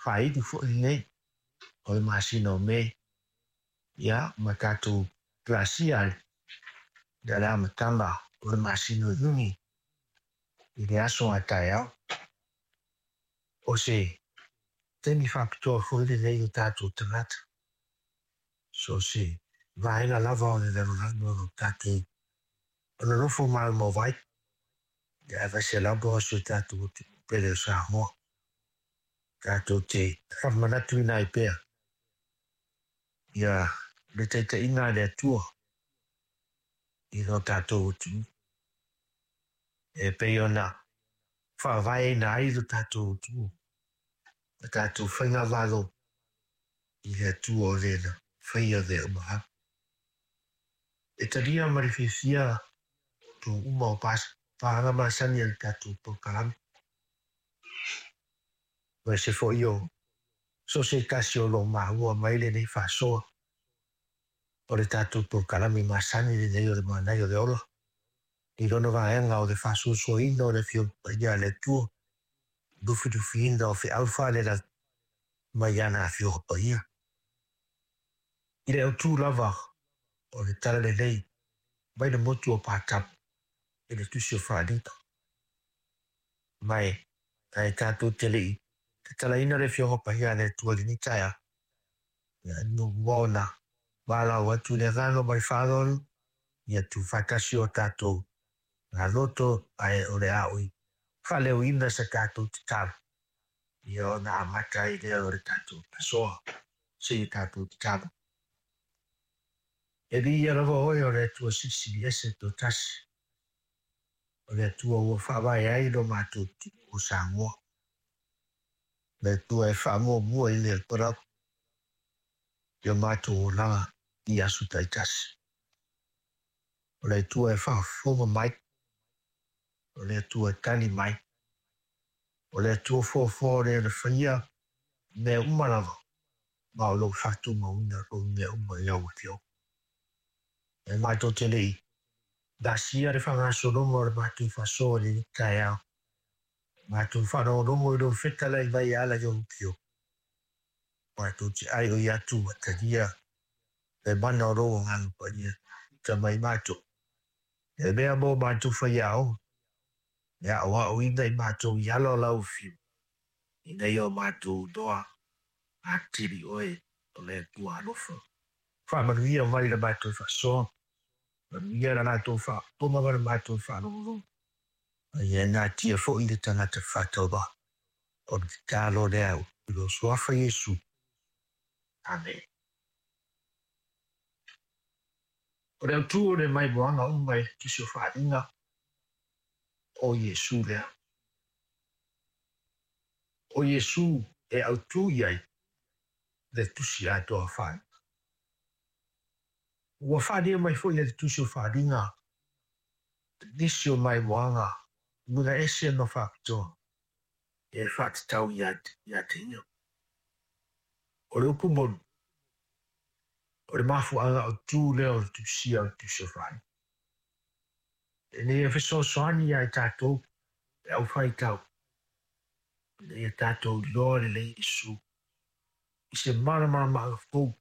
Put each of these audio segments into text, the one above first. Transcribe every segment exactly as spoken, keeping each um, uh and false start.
Faaili foi lenei o le masina o Me, ia ma tatou pasia ai le amataga o le masina o Iuni i le aso a taeao. O se taimi faapitoa foi lenei o tatou tagata, so o se vaega lava o le lalolagi o lo o tatou nonofo maumau ai, aemaise lava o si o tatou atunuu pele o Samoa. Tatou te faamanatuina ai pea ia le taitaiga a le Atua i lo tatou atunuu, e pei ona faavaeina ai lo tatou atunuu ma tatou faigamalo i le Atua o le na faia mea uma lava. E talia ma le fiafia outou uma o paaga masani a le tatou polokalame, aemaise foi o so o se tasi o lo o maua mai lenei faasoa o le tatou polokalame masani lenei o le Manaia o le Ola, i lona vaega o le faasoasoaina o le Afioga Paia a le Atua, lufilufiina o feau faalelagi mai ana Afioga Paia. I le autu lava o le talalelei mai le motu o Patamo i le Tusi o Faaaliga. Ma e ae tatou te le i tatalaina le Afioga Paia a le Atua i lenei taeao, ia muamua ona valaau atu i le agaga ma le faaaloalo, ia tuufaatasi o tatou galoto, ae o le a oi faaleoina sa tatou tatalo, ia ona amata ai lea o le tatou asoa seia tatou tatalo. E viia lava oe o le Atua Silisili Ese toatasi, o le Atua ua faavae ai lo matou atunuu o Samoa, le Atua e faamuamua i le Atua lava i o matou olaga i aso taitasi. O le Atua e faafofoga mai, o le Atua e tali mai, o le Atua foafoa o le na faia mea uma lava, ma o lou faatumauina o mea uma i lau Afioga. E matou te le i pasia le faagasologa o le matou faasoa i lenei taeao, matou faalogologo i lou fetalai mai e ala i ou Afioga, matou te aioi atu ua talia le mana o lou Agaga Paia uta mai matou, e mea mo matou faiaoga, e aoaoina i matou i ala o lau Afioga, ina ia o matou iloa atili oe o le Atua alofa. Faamanuia mai le matou faasoa, manuia le latou faafofoga ma le matou faalogologo, a ia natia foi le tagata faatauvaa. O le tatalo lea i lou Suafa Iesu. Amene. O le autu o le maimoaga uma i le Tusi o Faaaliga, o Iesu lea. O Iesu e autu i ai le Tusi atoa o Faaaliga. Ua faaalia mai foi e le Tusi o Faaaliga nisi o maimoaga uiga ese ma faapitoa e faatatau ia te ia. O le upu moni, o le mafuaaga autu lea o le tusia o le Tusi o Faaaliga, ina ia fesoasoani ia i tatou le aufaitau, ina ia tatou iloa lelei Iesu i se malamalamaaga fou,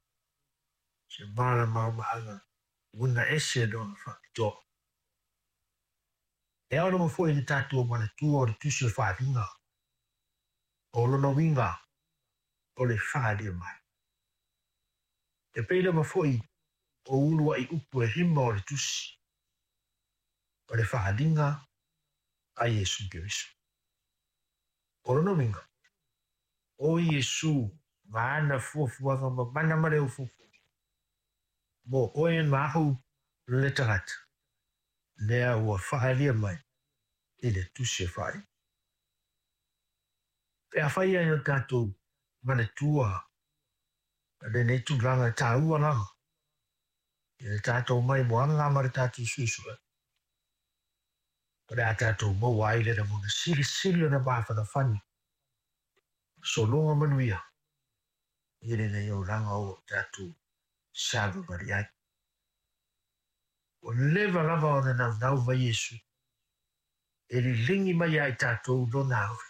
se malamalamaaga uiga ese lona faapitoa. E ao lava foi le tatou manatua o le Tusi o Faaaliga, o lona uiga o le faaalia mai. E pei lava foi o uluai upu e lima o le Tusi, o le faaaliga a Iesu Keriso. O lona uiga, o Iesu ma ana fuafuaga ma mana ma le ufuufuga mo oe ma au le tagata, lea ua faaalia mai i le Tusi o Faaaliga. Pe afai ai o tatou manatua lenei tulaga taua lava i le tatou maimoaga ma le tatou suesuega, o le a tatou maua ai le lagona silisili ona mafanafana, sologa manuia i lenei olaga o tatou savavali ai. Ua leva lava ona naunau mai Iesu e liligi mai ia i tatou lona alofa,